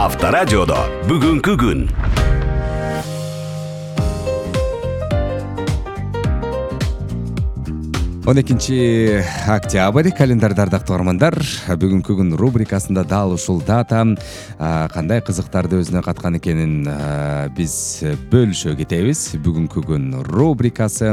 Авторадиодо бүгүнкү күн. 12 октябрь календарда ардактуу угармандар, бүгүнкү күн рубрикасында дал ушул дата кандай кызыктарды өзүнө каткан экенин биз бөлүшө кетебиз. Бүгүнкү күн рубрикасы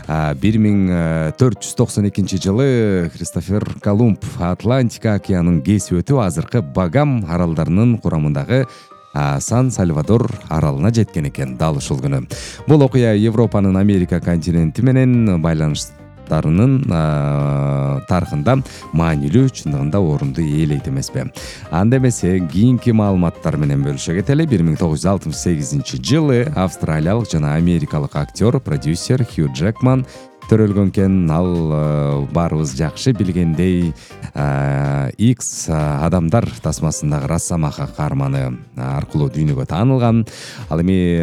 1492 жылы Кристофер Колумб Атлантика океанын кесип өтүп азыркы Багам аралдарынын курамындагы Сан-Сальвадор аралына жеткен экен. Дал ушул күнү бул окуя Европанын Америка континенти менен байланыштарынын тарыхында маанилүү, чындыгында орунду ээлейт эмеспи? Анда эмесе кийинки маалыматтар менен бөлүшө кетели. 1968 жылы австралиялык жана америкалык актер, продюсер Хью Джекман төрөлгөн экен. Ал баарыбыз жакшы билгендей X адамдар тасмасындагы Росомаха каарманы аркылуу дүйнөгө таанылган. Ал эми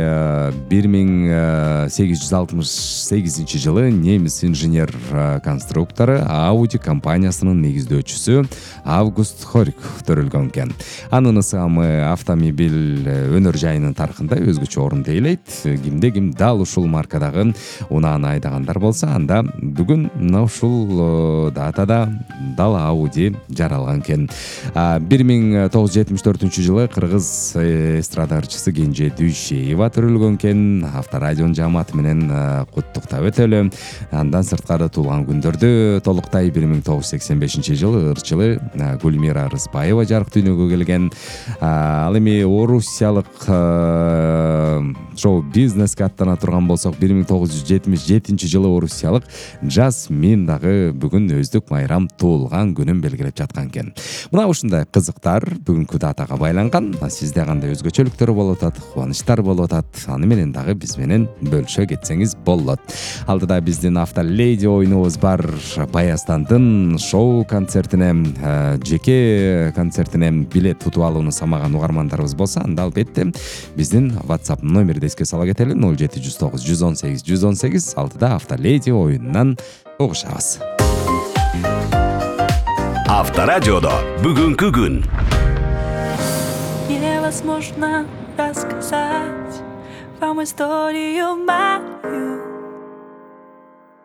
1868 жылы немис инженер конструктору Audi компаниясынын негиздөөчүсү Август Хорик төрөлгөн экен. Анын ысымы автомобиль өнөр жайынын тарыхында өзгөчө орунду ээлейт. Кимде ким дал ушул маркадагы унааны айдагандар болсо, анда бүгүн мына ушул датада дал Audi жаралган экен. 1974 жылы кыргыз эстрада ырчысы Кенже Дүйшеева төрөлгөн экен. Авторадионун жааматы менен куттуктап өтөлү. Андан сырткары туулган күндөрдү толуктай 1985 жылы ырчылы Гүлмира Рыспаева жарык дүйнөгө келген. Ал эми орусиялык шоу-бизнеске аттана турган болсок, 1977 жылы орусиялык Жасмин дагы бүгүн өздүк майрам туулган күнүн белгилеп жаткан экен. Мына ушундай кызыктар бүгүнкү датага байланган. Сизде кандай өзгөчөлүктөр болуп атат, кубанычтар болуп атат, аны менен дагы биз менен бөлүшө кетсеңиз болот. Алдыда биздин автоледи оюнубуз бар. Баястандын шоу концертине, жеке концертине билет тутуп алууну самаган угармандарыбыз болсо, анда албетте биздин WhatsApp номерди эске сала кетели. 0709 118 118. Алдыда автоледи оюнунан угушабыз. Авторадиодо бүгүнкү күн. Невозможно рассказать вам историю мою.